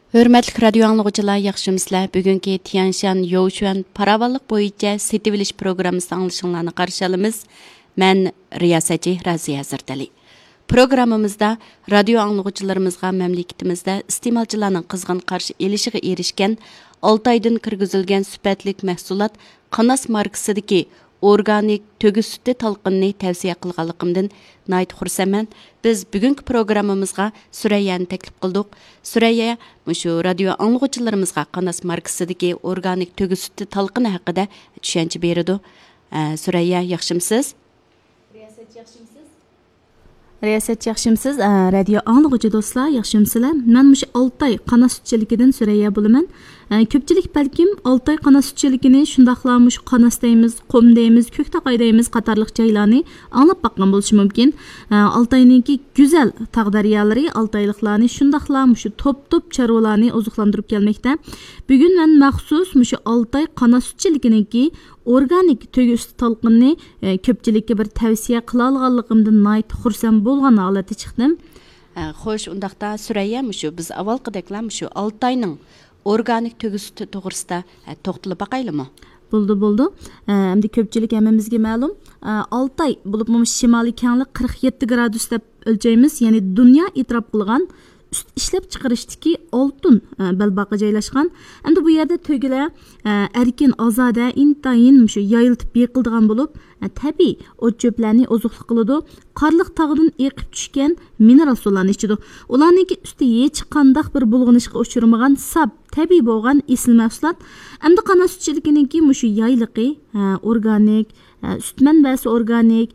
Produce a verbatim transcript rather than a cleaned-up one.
ھۆرمەتلىك رادىيو ئاڭلىغۇچىلار، ياخشىمۇسىلەر؟ بۈگۈنكى تيەنشان يوشۈەن پاراۋانلىق بويىچە سېتىۋېلىش پروگراممىسى ئاڭلىشىڭلارنى قارشى ئالىمىز. مەن رىياسەتچى رازىيە ھەزرىتەلى. پروگراممىمىزدا رادىيو ئاڭلىغۇچىلىرىمىزغا مەملىكىتىمىزدە ئىستېمالچىلارنىڭ قىزغىن قارشى ئېلىشىغا ئېرىشكەن ئالتايدىن كىرگۈزۈلگەن سۈپەتلىك مەھسۇلات قاناس ماركىسىدىكى ئورگانىك تۆگە سۈتى تالقىنىنى تەۋسىيە قىلغانلىقىمدىن ناھايىتى خۇرسەنمەن. بىز بۈگۈنكى پروگراممىمىزغا سۈرەييەنى تەكلىپ قىلدۇق. سۈرەييە مۇشۇ رادىيو ئاڭلىغۇچىلىرىمىزغا قاناس ماركىسىدىكى ئورگانىك تۆگە سۈتى تالقىنى ھەققىدە چۈشەنچە بېرىدۇ. ئە، سۈرەييە، ياخشىمۇسىز؟ رىياسەتچى، ياخشىمۇسىز؟ رىياسەتچى، ياخشىمۇسىز؟ ئە، رادىيو ئاڭلىغۇچى دوستلار، ياخشىمۇسىلەر؟ مەن مۇشۇ ئالتاي قاناس سۈتچىلىكىدىن سۈرەييە بولىمەن. ئە، كۆپچىلىك بەلكىم ئالتاي قاناس سۈتچىلىكىنى، شۇنداقلا مۇشۇ قاناس دەيمىز، قۇم دەيمىز، كۆكتاقاي دەيمىز قاتارلىق جايلارنى ئاڭلاپ باققان بولۇشى مۇمكىن. ئە، ئالتاينىڭكى گۈزەل تاغ دەريالىرى ئالتايلىقلارنى، شۇنداقلا مۇشۇ توپ-توپ چارۋىلارنى ئوزۇقلاندۇرۇپ كەلمەكتە. بۈگۈن مەن مەخسۇس مۇشۇ ئالتاي قاناس سۈتچىلىكىنىڭكى ئورگانىك تۆگە سۈتى تالقىنىنى، ئە، كۆپچىلىككە بىر تەۋسىيە قىلالىغانلىقىمدىن ناھايىتى خۇرسەن بولغان ھالەتتە چىقتىم. ئە، خوش، ئۇنداقتا سۈرەييە، مۇشۇ بىز ئاۋۋالقىدەكلا مۇشۇ ئالتاينىڭ ئورگانىك تۆگە سۈتى توغرىسىدا، ئە، توختىلىپ باقايلىمۇ؟ بولدى، بولدى. ئە، ئەمدى كۆپچىلىك ھەممىمىزگە مەلۇم. ئە، ئالتاي بولۇپمۇ شىمالىي كەڭلىك قىرىق يەتتە گرادۇس دەپ ئۆلچەيمىز، يەنى دۇنيا ئېتىراپ قىلغان سۈت ئىشلەپچىقىرىشتىكى ئالتۇن، ئە، بەلباغقا جايلاشقان. ئەمدى بۇ يەردە تۆگىلەر، ئە، ئەركىن، ئازادە، ئىنتايىن مۇشۇ يايىلىتىپ بېقىلىدىغان بولۇپ، ئە، تەبىئىي ئوت-چۆپلەرنى ئوزۇقلۇق قىلىدۇ. قارلىق تاغدىن ئېقىپ چۈشكەن مىنېرال سۇلارنى ئىچىدۇ. ئۇلارنىڭكى سۈتى ھېچقانداق بىر بۇلغىنىشقا ئۇچرىمىغان ساپ، تەبىئىي بولغان ئېسىل مەھسۇلات. ئەمدى قاناس سۈتچىلىكىنىڭكى مۇشۇ يايلىقى، ئە، ئورگانىك، ئە، سۈت مەنبەسى ئورگانىك،